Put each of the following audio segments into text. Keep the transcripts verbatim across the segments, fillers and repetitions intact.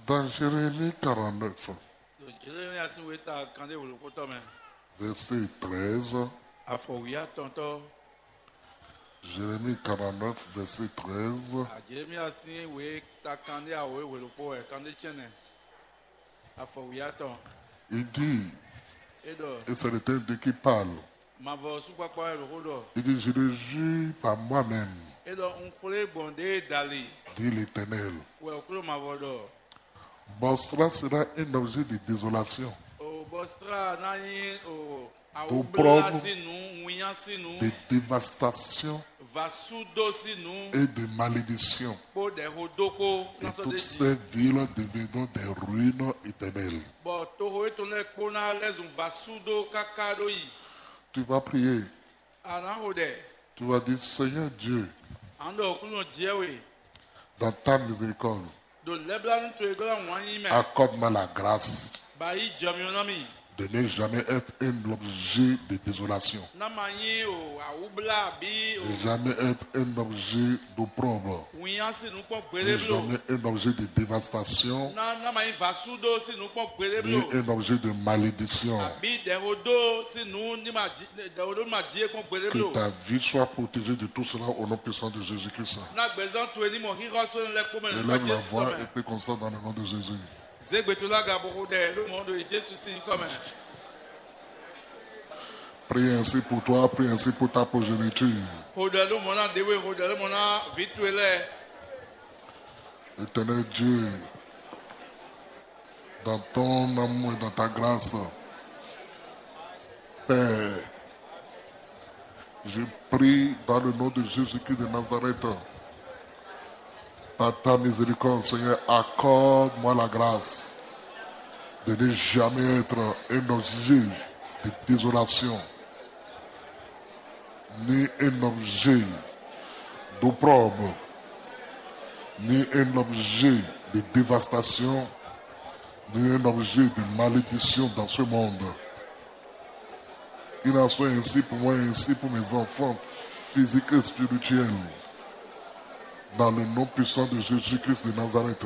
Dans Jérémie quarante-neuf, Ɖo Jeremia sín wěta kanɖé wělukútɔ́ mɛ, verset treize. Afɔ wǐyá tɔntɔ́. Jérémie quarante-neuf, verset treize. Jeremia sín wěta kanɖé awǒ wělukpó wɛ kanɖé tɛ́nnɛ. Afɔ wǐyá tɔn. Il dit, É ɖɔ et c'est l'Éternel Dieu qui parle, mavɔ súkpakpa wɛ lǒxó ɖɔ. Il dit, je le jure par moi-même, É ɖɔ un xwlé gbɔn ɖěe dali dit l'Éternel. Wɛ Aklúnɔ mavɔ ɖɔ. Bosra sera un objet de désolation, O Bostra ná nyí o Ɖo awúblá prɔ́bú. Sín nǔ, winnyá sín nǔ, de dévastation vasúdó sín nǔ et de malédiction. kpó ɖɛ̌xó dó kpó Et ná sɔ́ toutes ɖ'é jí. Ces villes deviendront des ruines éternelles. Bɔ toxo étɔn lɛ́ɛ kpó ná lɛ́ zun vasúdó káká ɖó yi. Tu vas prier. A nǎ xo ɖɛ. Tu vas dire, Seigneur Dieu, À ń ɖɔ Aklúnɔ jɛ we. Dans ta miséricorde, Ɖo lɛ́blánú towe glɔ́ wǎn yí mɛ. Accorde-moi la grâce Ba yí jɔ mì ná mì. De ne jamais être un objet de désolation. Ná ma nyí o awúblá abǐ o De jamais être un objet d'opprobre. Winnyá sín nǔ kpɔ́n De gbéɖé bló. Jamais un objet de dévastation. Ná ná ma nyí vasúdó sín nǔ kpɔ́n gbéɖé Ni bló. Un objet de malédiction. Abǐ ɖɛxódó sín nǔ ní ma jí ɖɛxódó ní ma jí é kpɔ́n gbéɖé Que bló. Ta vie soit protégée de tout cela au nom puissant de Jésus-Christ. Ná gbɛzán towe ní mọ xíxɔ sɔ́ lɛ́ kpɔ́n mɛ nípa Élève la Jésù voix mɛ. Et prie comme ça dans le nom de Jésus. Zé gbe towe ló aga bó xo ɖɛ ló mɔ ɖo Jésù sín nyǐkɔ mɛ. Prie ainsi pour toi, prie ainsi pour ta progéniture. Xo ɖɛ ló mɔ ná ɖě we, xo ɖɛ ló mɔ ná vǐ towe lɛ́ɛ. Éternel Dieu, dans ton amour et dans ta grâce, Père, je prie dans le nom de Jésus-Christ de Nazareth, par ta miséricorde, Seigneur, accorde-moi la grâce de ne jamais être un objet de désolation, ni un objet d'opprobre, ni un objet de dévastation, ni un objet de malédiction dans ce monde. Qu'il en soit ainsi pour moi et ainsi pour mes enfants physiques et spirituels. Dans le nom puissant de Jésus-Christ de Nazareth.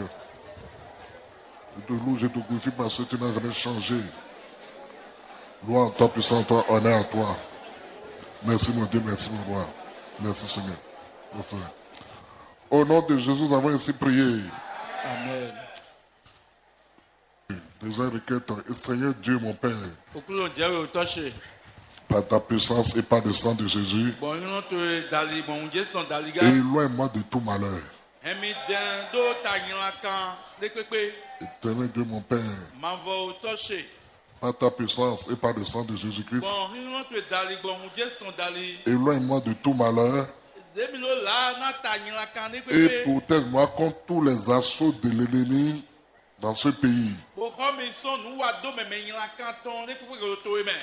Je te loue, je te glorifie parce que tu n'as jamais changé. Gloire à toi, puissance à toi, honneur à toi. Merci mon Dieu, merci mon roi. Merci Seigneur. Merci. Au nom de Jésus, nous avons ainsi prié. Amen. Deuxième requête, et Seigneur Dieu mon Père, Aklúnɔ jɛ we tɔ́ ce. Par ta puissance et par le sang de Jésus, Bɔn nyɔnɔ towe dali bɔn ŋun Jésù tɔn dali gá. Éloigne-moi de tout malheur. Hɛn mi dɛn ɖó ta nylankan ɖé kpékpé. Éternel Dieu mon Père, Mavɔ tɔ́ ce. Par ta puissance et par le sang de Jésus-Christ, Bɔn nyɔnɔ towe dali bɔn ŋun Jésù tɔn dali. Éloigne-moi de tout malheur Ɖě mi ló là ná ta nylankan ɖé Et kpékpé. Protège-moi contre tous les assauts de l'ennemi dans ce pays. Bó xɔ mi sɔn nǔ wa dó mɛmɛ nylankan tɔn ɖé kpékpé ɖo towe mɛ.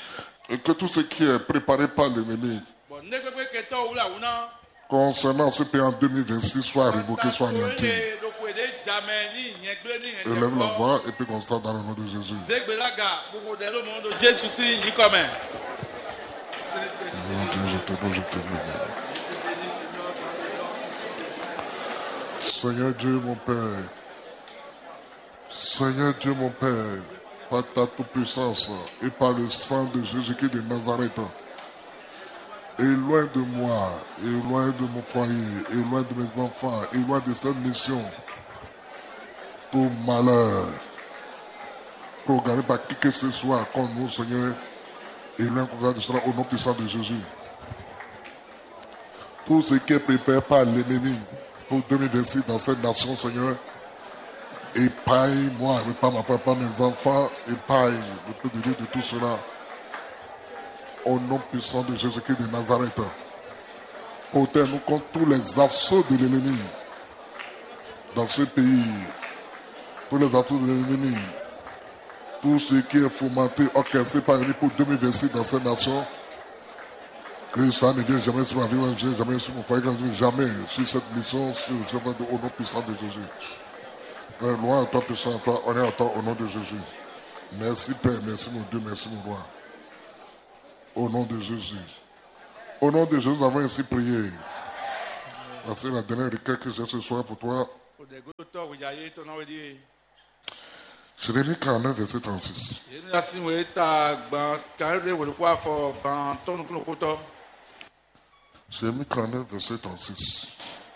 Et que tout ce qui est préparé par l'ennemi Bɔn ne kpékpé kɛtɔ wula wuna. Concernant ce pays en deux mille vingt-six soit révoqué, soit anéanti. Ɖo xwe ɖé jamɛ ní nyɛgblé ní hɛn. Élève la voix et puis constate dans le nom de Jésus. Zégbe lága gbogbo ɖɛ ló mɔ ɖo Jésù sín nyǐkɔ mɛ. Mon Dieu, je te loue, je te loue. Seigneur Dieu, mon Père, Seigneur Dieu, mon Père, par ta toute-puissance et par le sang de Jésus-Christ de Nazareth, éloigne de moi, éloigne de mon foyer, éloigne de mes enfants, éloigne de cette mission tout malheur programmé par qui que ce soit contre nous, Seigneur, éloigne comme ça de cela au nom puissant de Jésus. Tout ce qui est préparé par l'ennemi pour deux mille vingt-six dans cette nation, Seigneur, épargne-moi, épargne ma femme, épargne mes enfants, épargne le peuple de Dieu de tout cela. Au nom puissant de Jésus-Christ de Nazareth, protège-nous contre tous les assauts de l'ennemi dans ce pays, tous les assauts de l'ennemi, tout ce qui est fomenté, orchestré par l'ennemi pour deux mille vingt-six dans cette nation, que ça ne vienne jamais sur ma vie, ne vienne jamais sur mon foyer, que ça ne vienne jamais sur cette mission, sur le chemin de, au nom puissant de Jésus. Gloire à toi, puissant à toi, honneur à toi, au nom de Jésus. Merci Père, merci mon Dieu, merci mon roi. Au nom de Jésus. Au nom de Jésus, nous avons ainsi prié. Parce que la dernière requête que j'ai ce soir pour toi, Xo ɖɛ gbé tɔ́ xwe ɖe ayé tɔn ná wɛ ɖíe. Jérémie quarante-neuf, verset trente-six. Yémia sín wěta gban kanɖé wǒlúkú afɔ gban tɔ́ nukúnukútɔ́. Jérémie quarante-neuf, verset trente-six.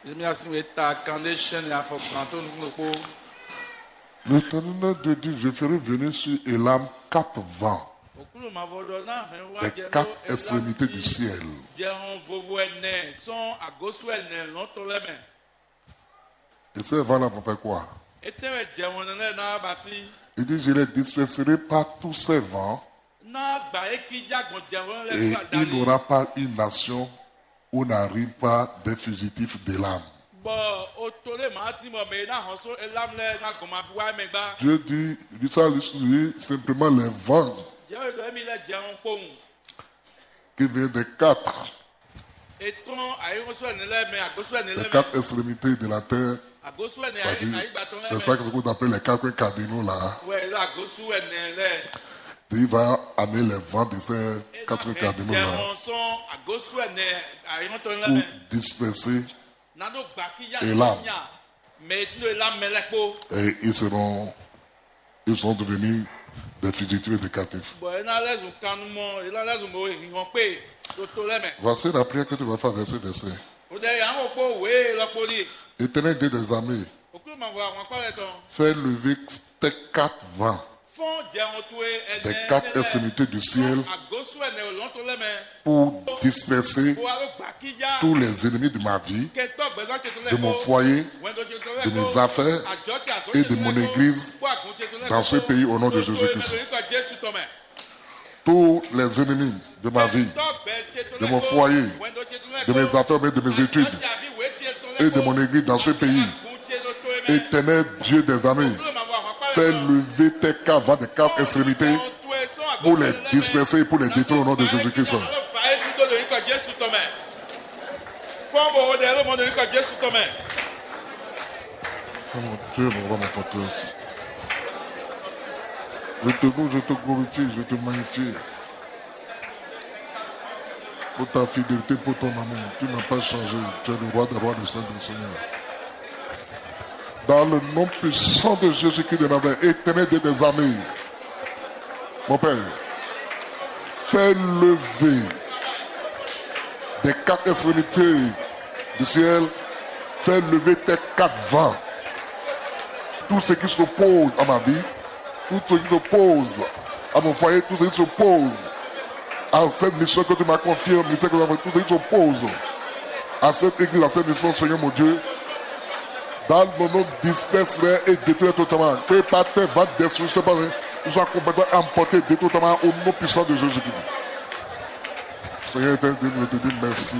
Yémia sín wěta kanɖé sɛ́nɛ afɔ gban tɔ́ nukúnukú. L'Éternel Dieu dit, je ferai venir sur Élam quatre vents, Òkúlù mavɔ ɖɔ ná hɛn wá des jɛ quatre extrémités du ciel. Jɛhɔn vovo ɛnɛ sɔn agosú ɛnɛ lɔn tɔn lɛ́ mɛ. Et ces vents-là vont faire quoi? Étɛ́ wɛ jɛhɔn lɛ́ɛ ná ba sí? Il dit, je les disperserai par tous ces vents. Ná gbǎ é kíjá gbɔn jɛhɔn lɛ́ɛ. Et il n'y aura pas une nation où n'arrive pas des fugitifs d'Élam. Bɔ o to lé màá tín bɔ mɛ e ná hɔn só Elam lɛ́ɛ ná gɔn ma wá mɛ gbá. Dieu dit, lui ça lui suffit simplement les vents. Jɛhɔn ɖɔ émi lɛ́ jɛhɔn kpowun. Qui vient des quatre, Etɔn ayéhɔnsú ɛnɛ lɛ́ɛ mɛ, agosú ɛnɛ les lɛ́ɛ mɛ, quatre extrémités de la terre. Agosú ɛnɛ C'est-à-dire, ayé ayé gbatɔn lɛ́ɛ c'est mɛ. Ça que ce qu'on appelle les quatre coins cardinaux là. Ouais, là, agosú ɛnɛ lɛ́ɛ. Il va amener les vents de ces quatre coins cardinaux là. Jɛhɔn sɔn agosú ɛnɛ ayéhɔntɔn lɛ́ɛ pour mɛ. Disperser Ná ɖó gbakíyá Elam. Nya mɛ e tló Elam mɛ lɛ́ɛ kpó. Et ils seront, ils seront devenus des fugitifs et des captifs. Bɔ é ná lɛ́ zun kannumɔ, é ná lɛ́ zun mɔ e hinhɔn kpé ɖo to lɛ́ɛ mɛ. Voici la prière que tu vas faire avec ce verset. O ɖɛ yǎ ŋo kpó wě lɔ kpó ɖíe. Éternel Dieu des armées, Òkúlù ma vɔ ahwankpá lɛ́ɛ tɔn. Fais lever tes quatre vents Fɔ́n jɛhɔn towe ɛnɛ des quatre extrémités du ciel Agosú ɛnɛ lɔn tɔn lɛ́ɛ mɛ. Pour disperser Bó wá ló gbakíjá. Tous les ennemis de ma vie, Kɛ tɔ́ gbɛzán ce tɔn lɛ́ɛ de mon kpó. Foyer, Wɛndo ce tɔn lɛ́ɛ de mes kpó. Affaires Ajɔ ce azɔ̌ et ce de tɔn mon lɛ́ɛ kpó. Église Kpó àgùn ce tɔn lɛ́ɛ dans kpó. Ce pays au nom de Jésus-Christ. Lórúkọ Jésù tɔn mɛ. Tous les ennemis de ma vie, Kɛ tɔ́ gbɛ ce tɔn de lɛ́ɛ mon kpó. Foyer, Wɛndo ce tɔn lɛ́ɛ de mes kpó. Affaires, de mes études Ajɔ ce azɔ̌ ce tɔn lɛ́ɛ et de kpó. Mon église dans ce pays. Kpó àgùn ce tɔn lɛ́ɛ kpó. Éternel Dieu des armées, Olúwa máa wá wá pálẹ̀ fais lọ. Lever tes quatre vents des quatre extrémités pour les disperser et pour les détruire au nom de Jésus-Christ. Oh mon Dieu, mon roi, mon forteresse. Je te loue, je te glorifie, je te magnifie. Pour ta fidélité, pour ton amour, tu n'as pas changé. Tu es le roi des rois, le saint des seigneurs. Dans le nom puissant de Jésus-Christ de Nazareth, Éternel Dieu des armées, mon Père, fais lever des quatre extrémités du ciel, fais lever tes quatre vents. Tout ce qui s'oppose à ma vie, tout ce qui s'oppose à mon foyer, tout ce qui s'oppose à cette mission que tu m'as confiée, au ministère que tu m'as confié, tout ce qui s'oppose à cette église, à cette mission, Seigneur mon Dieu, dans mon nom, disperse-les et détruis-les totalement. Que par tes vents destructeurs, ils soient complètement emportés, détruits totalement au nom puissant de Jésus-Christ. Seigneur éternel, nous te disons merci.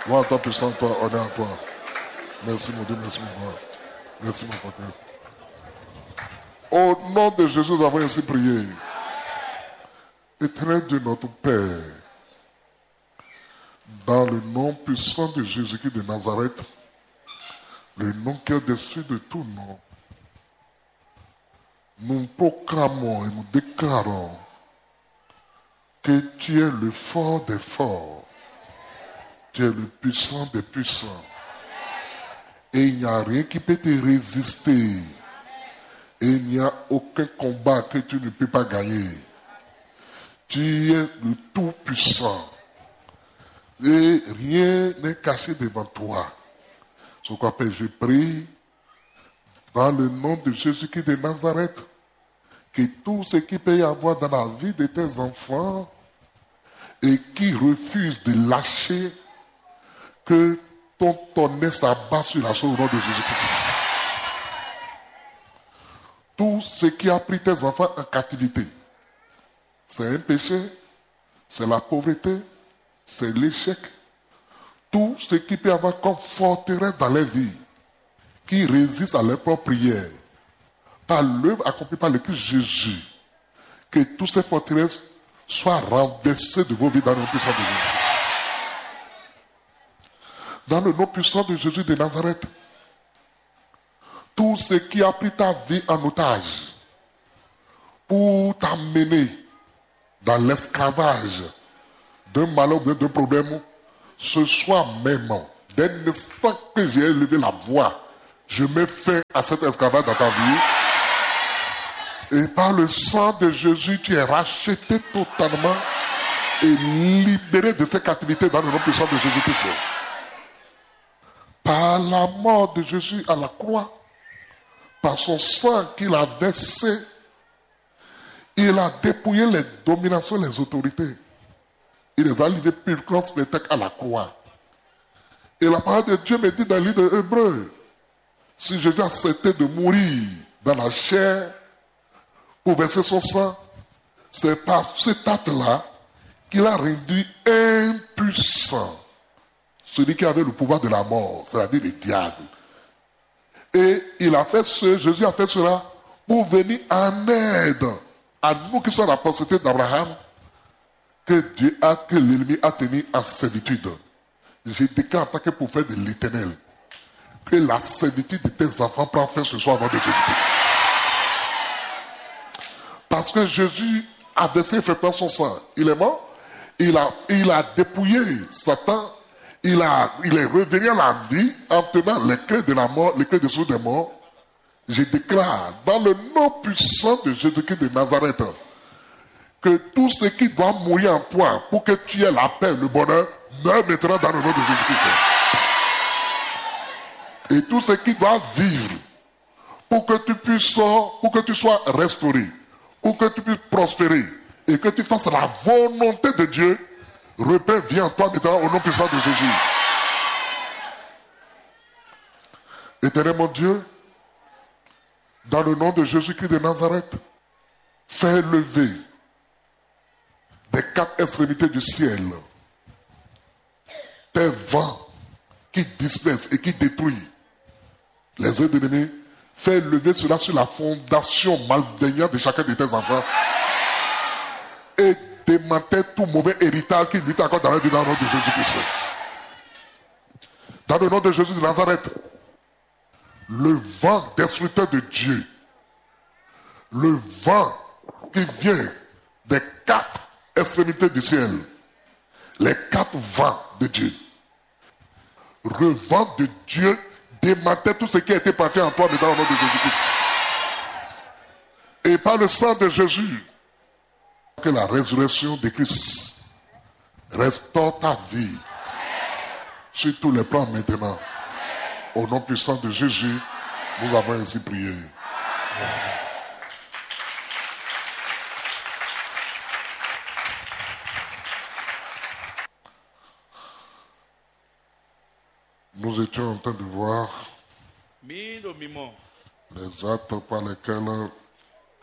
Gloire à toi, puissant toi, honneur à toi. Merci mon Dieu, merci mon roi. Merci mon papa. Au nom de Jésus, nous avons ainsi prié. Éternel Dieu, notre Père, dans le nom puissant de Jésus-Christ de Nazareth, le nom qui est au-dessus de tout nom, nous proclamons et nous déclarons que tu es le fort des forts, tu es le puissant des puissants, et il n'y a rien qui peut te résister, et il n'y a aucun combat que tu ne peux pas gagner. Tu es le Tout-Puissant, et rien n'est caché devant toi. C'est pourquoi, Père, je prie dans le nom de Jésus-Christ de Nazareth, que tout ce qui peut y avoir dans la vie de tes enfants et qui refuse de lâcher, que ton tonnerre s'abat sur la chose au nom de Jésus-Christ. Tout ce qui a pris tes enfants en captivité, c'est un péché, c'est la pauvreté, c'est l'échec. Tout ce qui peut avoir comme forteresse dans leur vie, qui résiste à leur propre prière, par l'œuvre accomplie par le Christ Jésus, que toutes ces forteresses soient renversées de vos vies dans le nom puissant de Jésus. Dans le nom puissant de Jésus de Nazareth, tout ce qui a pris ta vie en otage pour t'amener dans l'esclavage d'un malheur ou d'un problème, ce soir même, dès l'instant que j'ai élevé la voix, je mets fin à cet esclavage dans ta vie. Et par le sang de Jésus, tu es racheté totalement et libéré de cette captivité dans le nom puissant de Jésus-Christ. Par la mort de Jésus à la croix, par son sang qu'il a versé, il a dépouillé les dominations, les autorités. Il les a livrées pur comme spectacle à la croix. Et la parole de Dieu me dit dans le livre de Hébreux, si Jésus acceptait de mourir dans la chair pour verser son sang, c'est par cet acte-là qu'il a rendu impuissant celui qui avait le pouvoir de la mort, c'est-à-dire le diable. Et il a fait ce, Jésus a fait cela pour venir en aide à nous qui sommes la postérité d'Abraham, que Dieu a, que l'ennemi a tenu en servitude. Je déclare en tant que prophète de l'Éternel que la servitude de tes enfants prend fin ce soir au nom de Jésus-Christ. Parce que Jésus a versé effectivement son sang. Il est mort. Il a, il a dépouillé Satan. Il a, il est revenu à la vie en tenant les clés de la mort, les clés de ceux des morts. Je déclare dans le nom puissant de Jésus-Christ de Nazareth que tout ce qui doit mourir en toi pour que tu aies la paix, le bonheur, meurt maintenant dans le nom de Jésus-Christ. Et tout ce qui doit vivre pour que tu puisses, pour que tu sois restauré, pour que tu puisses prospérer et que tu fasses la volonté de Dieu, reprend vie en toi maintenant au nom puissant de Jésus. Éternel mon Dieu, dans le nom de Jésus-Christ de Nazareth, fais lever des quatre extrémités du ciel tes vents qui dispersent et qui détruisent les œuvres de l'ennemi. Fais lever cela sur la fondation malveillante de chacun de tes enfants et démantèle tout mauvais héritage qui lutte encore dans la vie dans le nom de Jésus-Christ. Dans le nom de Jésus de Nazareth, le vent destructeur de Dieu, le vent qui vient des quatre extrémités du ciel, les quatre vents de Dieu, le vent de Dieu démantèle tout ce qui a été planté en toi, mais dans le nom de Jésus-Christ. Et par le sang de Jésus, que la résurrection de Christ restaure ta vie sur tous les plans maintenant. Au nom puissant de Jésus, nous avons ainsi prié. Nous étions en train de voir Mǐ ɖo mǐmɔ les actes par lesquels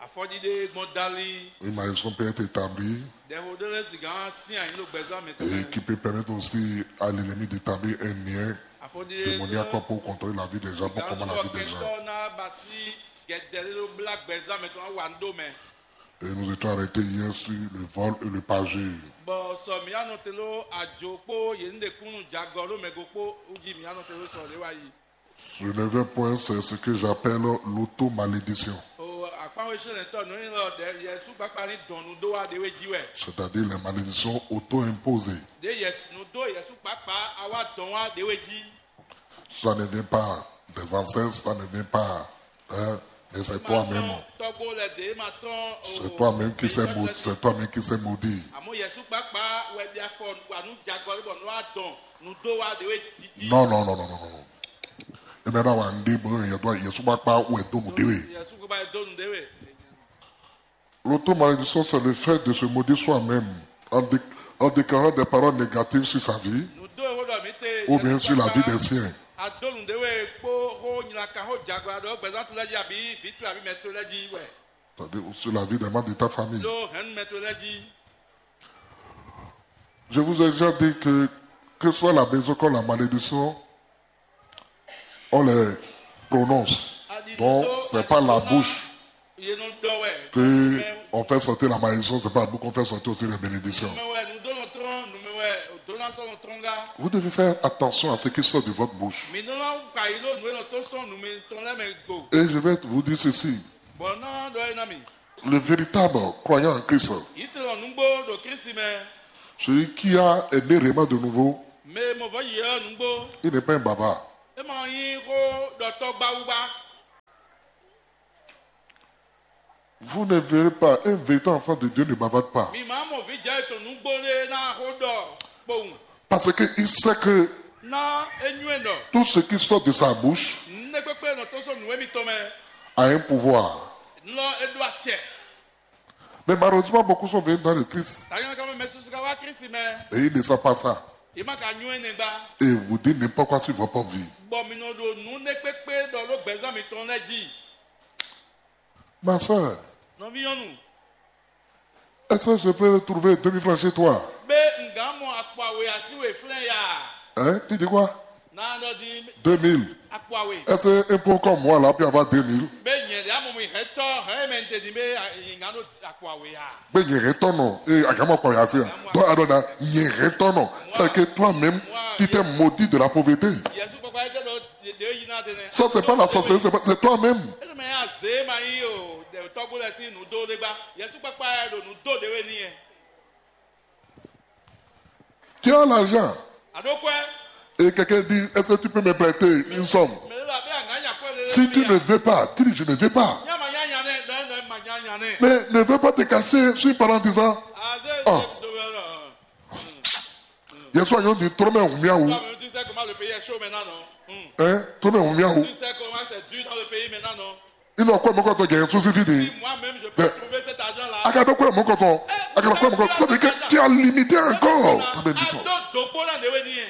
afɔɖiɖe gbɔn dali une malédiction peut être établie ɖɛxo ɖé lɛ́ɛ sixá sín anyi ɖo gbɛzán mǐtɔn et mɛ. Qui peut permettre aussi à l'ennemi d'établir un lien Afɔɖiɖe démoniaque pour contrôler la vie des gens, pour commander la vie des gens. Gbɛtɔ́ ná ba sí gɛdɛ ɖé ɖó blá gbɛzán mǐtɔn ná wa nǔ ɖó mɛ. Et nous étions arrêtés hier sur le vol et le parjure. Bɔ sɔ mǐ anɔ te ɖó ajo kpó yě ní ɖe kúnnu jagɔ ɖó mɛgo kpó wú jí mǐ anɔ te ɖó sɔ ɖě wá yi. Je ne vais point, c'est ce que j'appelle l'auto-malédiction. O akpán wéṣɛ́nɛtɔ́ nǔ nyí lɔ ɖɛ Yɛsu kpákpá ní dɔn nǔ ɖó wá ɖě wé jí wɛ. C'est-à-dire les malédictions auto-imposées. Ɖě Yɛsu nǔ dó Yɛsu kpákpá a wá dɔn wá ɖě wé jí. Ça ne vient pas des ancêtres, ça ne vient pas, hein, mais c'est toi-même. Tɔgbo lɛ ɖě ma tɔn. C'est toi-même qui s'est maudit, c'est toi-même qui s'est maudit. Àmọ́ Yɛsu kpákpá wɛ ɖi afɔ wa nú jagɔ lé bɔ nú wa dɔn nú dó wa ɖě wé didi. Non, non, non, non, non, non. Et maintenant, on dit, bon, il doit, il y a souvent pas où est donc déwé. Yɛsu kpákpá dó nǔ ɖě wé. L'auto-malédiction, c'est le fait de se maudire soi-même en, dé- en déclarant des paroles négatives sur sa vie Nǔ dó ewó ɖɔ mǐ te. Ou bien sur la vie des siens. A dó nǔ ɖě wé kpó xó nylankan xó jagɔ aɖɔ gbɛzán to lɛ́ɛ jí abǐ vǐ to abǐ mɛ to lɛ́ɛ jí wɛ. C'est-à-dire sur la vie des membres de ta famille. Ɖó hɛ̌nnu mɛ to lɛ́ɛ jí. Je vous ai déjà dit que, que ce soit la maison comme la malédiction, on les prononce. Donc, c'est pas la bouche que on fait sortir la malédiction, c'est pas la bouche qu'on fait sortir aussi les bénédictions. Vous devez faire attention à ce qui sort de votre bouche. Et je vais vous dire ceci. Le véritable croyant en Christ, celui qui a est né réellement de nouveau, il n'est pas un baba. Vous ne verrez pas, un véritable enfant de Dieu ne bavard pas. Mi ma mɔ vǐ jɛ tɔn nǔgbó ɖé ná xó ɖɔ kpowun. Parce qu'il sait que Ná é nywɛ́ ɖɔ tout ce qui sort de sa bouche nú é kpékpé nɔ tó sɔ́ nǔ émítɔn mɛ. A un pouvoir. Nú lɔ é ɖó acɛ. Mais malheureusement, beaucoup sont venus dans le Christ. Tanyɔ́ ká mɛ mɛ susu ká wá Kristi mɛ. Et ils ne savent pas ça. Yě ma ka nywɛ́ nɛgbá. Et vous dites n'importe quoi sur votre vie. Bɔ mi nɔ ɖo nǔ nɛ kpékpé ɖɔ ɖó gbɛzán mitɔn lɛ́ɛ jí. Ma sœur, Nɔví nyɔ́nu, est-ce que je peux trouver deux mille francs chez toi? Bé ǹgǎn mɔ akpawé así wě flɛ́n ya. Hein? Tu dis quoi? Ná ɖɔ din Deux mille. Akpawé. Est-ce qu'un pauvre comme moi là peut avoir deux mille? Bé nyɛ ɖě amɔ mi hɛn tɔ hɛn mɛ ntɛ din bé ǹgǎn ɖo akpawé ya. Bé nyɛ hɛn tɔ nɔ, et à gagne quoi, ya fait. Donc, alors, là, nyɛ hɛn tɔ nɔ. C'est que toi-même, tu t'es maudit de la pauvreté. Yɛsu kpakpa yɛ tɛ ɖɔ ɖě yi ná ɖe nɛ. Ça, c'est pas la sorcellerie, c'est pas- c'est toi-même. Énɛ́ mɛ ya zě ma yí o ɖe tɔ́gbó lɛ sín nǔ dó ɖé gbá. Yɛsu kpakpa yɛ ɖo nǔ dó ɖě wé n'i yɛ. Tu as l'argent. Aɖó kwɛ. Et quelqu'un dit, est-ce que tu peux me prêter une somme? Mɛ lɛ abɛ anga nya kwɛ lɛ. Si tu ne veux pas, dis, je ne veux pas. Nya ma nya nya nɛ, nɛ nɛ ma nya nya nɛ. Mais ne veux pas te cacher sur une parole en disant, ah. Yɛsu anyɔ di trɔmɛ hun miawu. Toi-même, tu sais comment le pays est chaud maintenant, non? Hmm. Hein? Trɔmɛ hun miawu. Tu sais comment c'est dur dans le pays maintenant, non? Inɔ kɔ mɔkɔtɔ gɛ susi fi de. Si moi-même je peux trouver cet argent-là. Akadɔ kɔ mɔkɔtɔ. Akadɔ kɔ mɔkɔtɔ. Ça veut dire que tu as limité encore ta bénédiction. Aɖó dòkpó ná ɖe wé ní yɛ.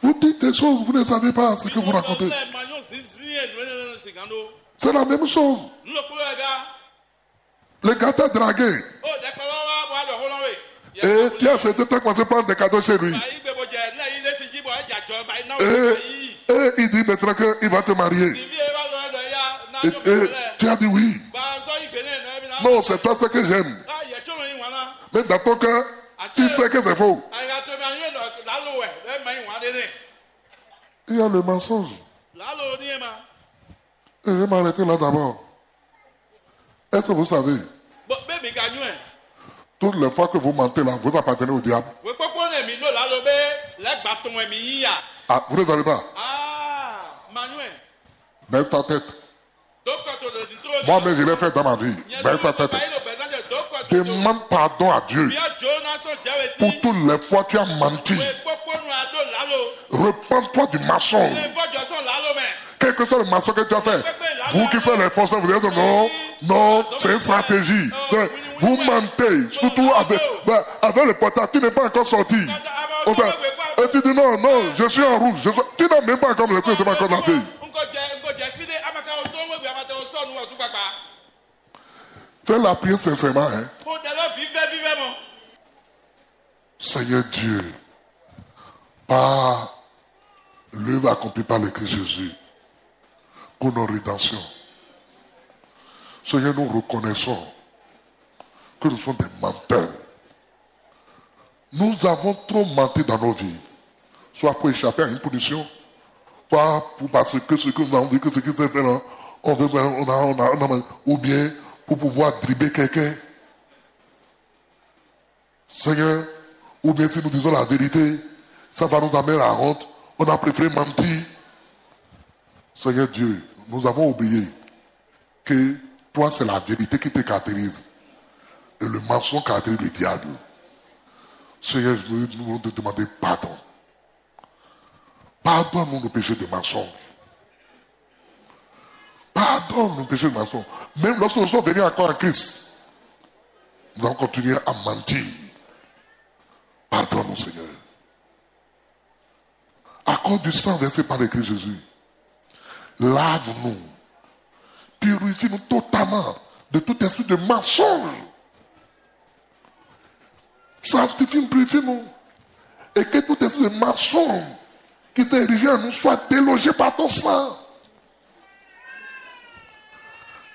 Vous dites des choses, vous ne savez pas ce que vous racontez. Lɛ ma nyɔ zinzin yɛ nǔ énɛ́ lɛ sìgán ɖó. C'est la même chose. Nú lɔ kúló ɛ gá. Le gars t'a dragué. Ó dɛkpɛ wá wá wá ɖɔ xó ná wé. Et tu as accepté, t'as commencé à prendre des cadeaux chez lui. Bàyí gbé bó jẹ ní ayé lé sí jí bọ̀ ẹ́ jà jọ bàyí náà wò bàyí. Et il dit maintenant qu'il va te marier. Nìbí ẹ bá lọ ẹ lọ ya ná. Et, yóò et bẹ̀rẹ̀. Tu as dit oui. Bá a sọ ìgbé náà ẹ̀ náà ẹ̀ bí náà. Non, c'est toi ce que j'aime. Á yẹ tó lọ yín wọn ná. Mais dans ton cœur, tu sais que c'est faux. Àyà tó mi àyè lọ lálọ́ ẹ̀ ẹ̀ mọ̀ yín wọn á dé dé. Il y a le mensonge. Lálọ́ ní ẹ̀ ma. Et je vais m'arrêter là d'abord. Est-ce que vous savez, Bɔ bɛ mi ka nyɔ ɛ. Toutes les fois que vous mentez là, vous appartenez au diable. Wekpɔkpɔ ne mi ɖo lalo be lɛ gba tɔn wɛ mi yí ya. Ah, vous ne savez pas. Ah, ma nyɔ ɛ. Baisse ta tête. Dɔkɔ to le di to. Moi-même, je l'ai fait dans ma vie. Baisse ta tête. Demande pardon à Dieu pour toutes les fois que tu as menti. Wekpɔkpɔ nu a ɖo lalo. Repends-toi du mensonge. Quel que soit le mensonge que tu as fait, vous qui faites les faux, vous dites non, non, c'est une stratégie. Vous mentez, surtout avec, avec le portable, tu n'es pas encore sorti. Enfin, et tu dis non, non, je suis en rouge. Je suis- Tu n'as même pas encore le truc, tu n'es pas encore lavé. Fais la prière sincèrement, hein. Seigneur Dieu, par l'œuvre accomplie par le Christ Jésus, pour notre rédemption, Seigneur, nous reconnaissons que nous sommes des menteurs. Nous avons trop menti dans nos vies, soit pour échapper à une punition, soit pour, parce que ce que nous avons vu, que ce qui s'est fait là, on veut, on a, on a, on a, ou bien pour pouvoir dribbler quelqu'un. Seigneur, ou bien si nous disons la vérité, ça va nous amener la honte. On a préféré mentir. Seigneur Dieu, nous avons oublié que toi, c'est la vérité qui te caractérise. Et le mensonge caractérise le diable. Seigneur, nous, nous voulons te demander pardon. Pardonne-nous nos péchés de mensonge. Pardonne nos péchés de mensonge. Même lorsque nous sommes venus encore en Christ, nous avons continué à mentir. Pardonne-nous, Seigneur. Accorde du sang versé par le Christ Jésus. Lave-nous. Purifie-nous totalement de tout esprit de mensonge. Sanctifie-nous, purifie-nous. Et que tout esprit de mensonge qui s'est érigé en nous soit délogé par ton sang.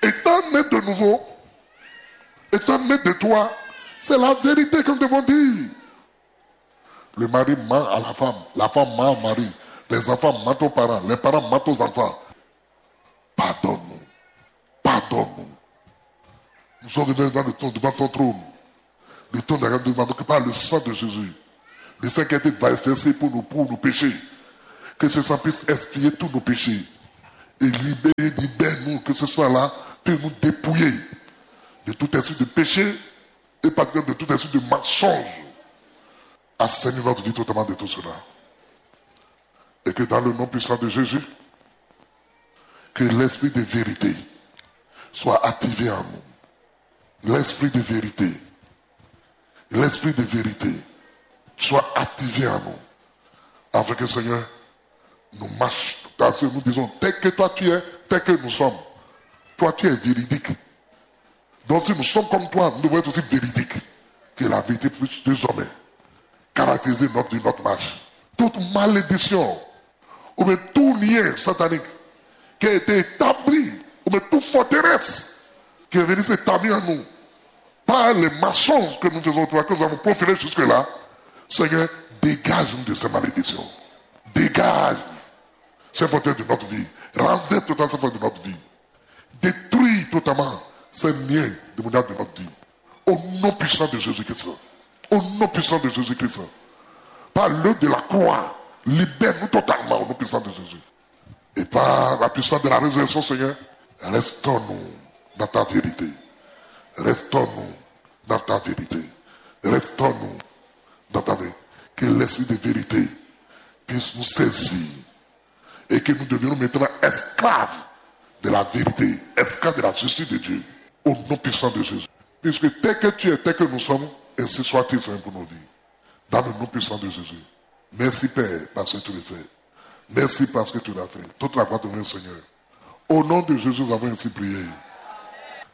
Étant né de nouveau, étant né de toi, c'est la vérité que nous devons dire. Le mari ment à la femme, la femme ment au mari, les enfants mentent aux parents, les parents mentent aux enfants. Pardonne-nous. Pardonne-nous. Nous sommes venus devant le trône, devant ton trône. Le trône de la grâce, nous demandons que par le sang de Jésus, le sang qui a été versé pour nous, pour nos péchés, que ce sang puisse expier tous nos péchés et libérer, libère-nous, que ce sang-là peut nous dépouiller de tout esprit de péché et particulièrement de tout esprit de mensonge. Assainis notre vie totalement de tout cela. Et que dans le nom puissant de Jésus, que l'esprit de vérité soit activé en nous. L'esprit de vérité, l'esprit de vérité soit activé en nous. Afin que, Seigneur, nous marchons, parce que nous disons, tel que toi tu es, tel que nous sommes, toi tu es véridique. Donc si nous sommes comme toi, nous devons être aussi véridiques. Que la vérité puisse désormais caractériser notre vie, notre marche. Toute malédiction, ou bien tout lien satanique qui a été établi, ou bien toute forteresse qui est venue s'établir en nous, par les mensonges que nous faisons, que nous avons proférés jusque-là, Seigneur, dégage-nous de ces malédictions. Dégage ces forteresses de notre vie. Renverse totalement ces forteresses de notre vie. Détruis totalement ces liens démoniaques de notre vie. Au nom puissant de Jésus-Christ. Au nom puissant de Jésus-Christ. Par l'œuvre de la croix, libère-nous totalement au nom puissant de Jésus. Et par la puissance de la résurrection, Seigneur, restaure-nous dans ta vérité. Restaure-nous dans ta vérité. Restaure-nous dans ta vérité. Que l'esprit de vérité puisse nous saisir et que nous devenions maintenant esclaves de la vérité, esclaves de la justice de Dieu, au nom puissant de Jésus. Puisque tel que tu es, tel que nous sommes, ainsi soit-il, Seigneur, pour nos vies. Dans le nom puissant de Jésus. Merci, Père, parce que tu le fais. Merci parce que tu l'as fait. Toute la gloire te revient, Seigneur. Au nom de Jésus, nous avons ainsi prié.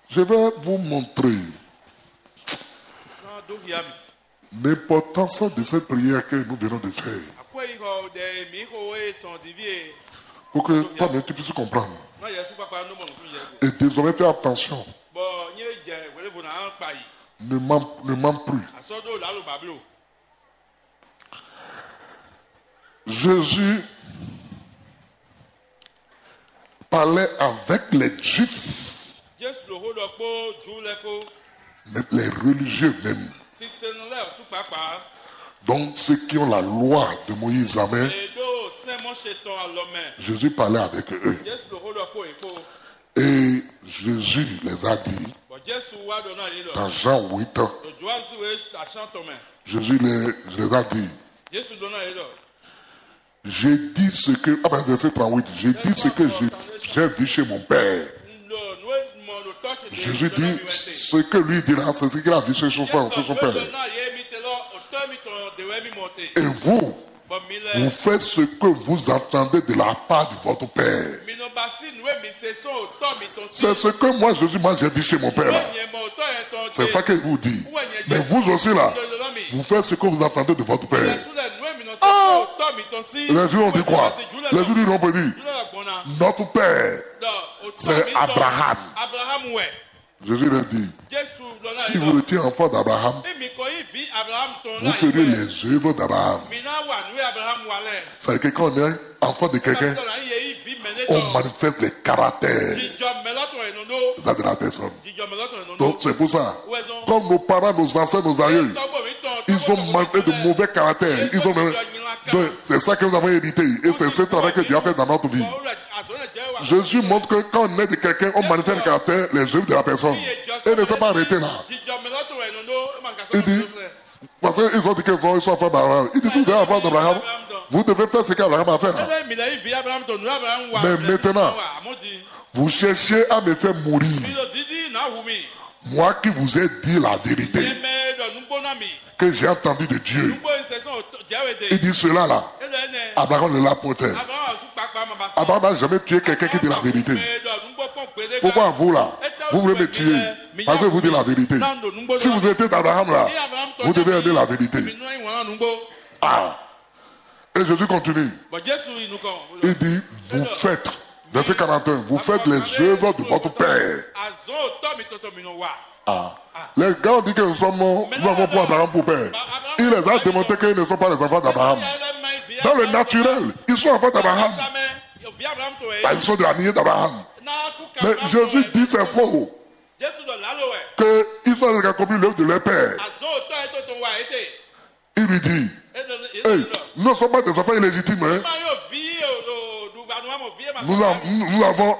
Je vais vous montrer l'importance de cette prière que nous venons de faire. Pour que toi-même tu puisses comprendre. Et désormais, fais attention. Ne mens, ne mens plus. Jésus parlait avec les Juifs, Jesu ɖo xó ɖɔ kpó Ju lɛ́ɛ kpó, mais les religieux même. Sinsɛnnɔ lɛ́ɛ ɔ́ sú kpǎkpá. Donc ceux qui ont la loi de Moïse, amen. È ɖó sɛ́n Mɔse tɔn alɔ mɛ. Jésus parlait avec eux. Jesu ɖo xó ɖɔ kpó yě kpó. Et Jésus les a dit, Bɔ Jesu wá ɖɔ ná yě ɖɔ, dans Jean huit, ɖo Johanu sín wěwé atɔ́ɔ́n tɔn mɛ. Jésus les, les a dit, Jesu ɖɔ ná yě ɖɔ, j'ai dit ce que, ah ben, verset trente-huit, j'ai dit ce que j'ai, j'ai vu chez mon père. Jésus dit, ce que lui dit là, c'est ce qu'il a vu chez son père, chez son père. Et vous, vous faites ce que vous entendez de la part de votre père. C'est ce que moi, Jésus, moi, j'ai vu chez mon père là. C'est ça que vous dites. Mais vous aussi là, vous faites ce que vous entendez de votre père. Ah! Les yeux ont dit quoi? Les yeux lui ont dit, notre père, c'est Abraham. Jésus leur dit, si vous étiez enfant d'Abraham, vous feriez les œuvres d'Abraham. C'est-à-dire que quand on est enfant de quelqu'un, on manifeste les caractères de la personne. Donc c'est pour ça, comme nos parents, nos ancêtres, nos aïeux, ils ont manqué de mauvais caractères. Ils ont... Donc, c'est ça que nous avons hérité. Et c'est ce travail que Dieu a fait dans notre vie. Jésus montre que quand on est de quelqu'un, on manifeste le caractère, les œuvres de la personne. Et ne s'est pas arrêté là. Il dit, parce qu'ils ont dit qu'ils sont, ils sont enfants d'Abraham. Il dit, si vous êtes enfants d'Abraham, vous devez faire ce qu'Abraham a fait là. Mais maintenant, vous cherchez à me faire mourir. Moi qui vous ai dit la vérité, que j'ai entendu de Dieu. Il dit cela là. Abraham ne l'a point fait. Abraham n'a jamais tué quelqu'un qui dit la vérité. Pourquoi vous là, vous voulez me tuer parce que vous dites la vérité? Si vous étiez d'Abraham là, vous devez aimer la vérité. Ah. Et Jésus continue. Il dit, vous faites, verset quarante et un, vous faites les œuvres de votre père. Ah. Les gars ont dit que nous sommes, nous avons pour Abraham pour père. Il les a démontrés qu'ils ne sont pas les enfants d'Abraham. Dans le naturel, ils sont enfants d'Abraham. Ils sont de la lignée d'Abraham. Mais Jésus dit c'est faux. Qu'ils sont en train d'accomplir l'œuvre de leur père. Il lui dit, hey, nous ne sommes pas des enfants illégitimes, hein. Nous, nous avons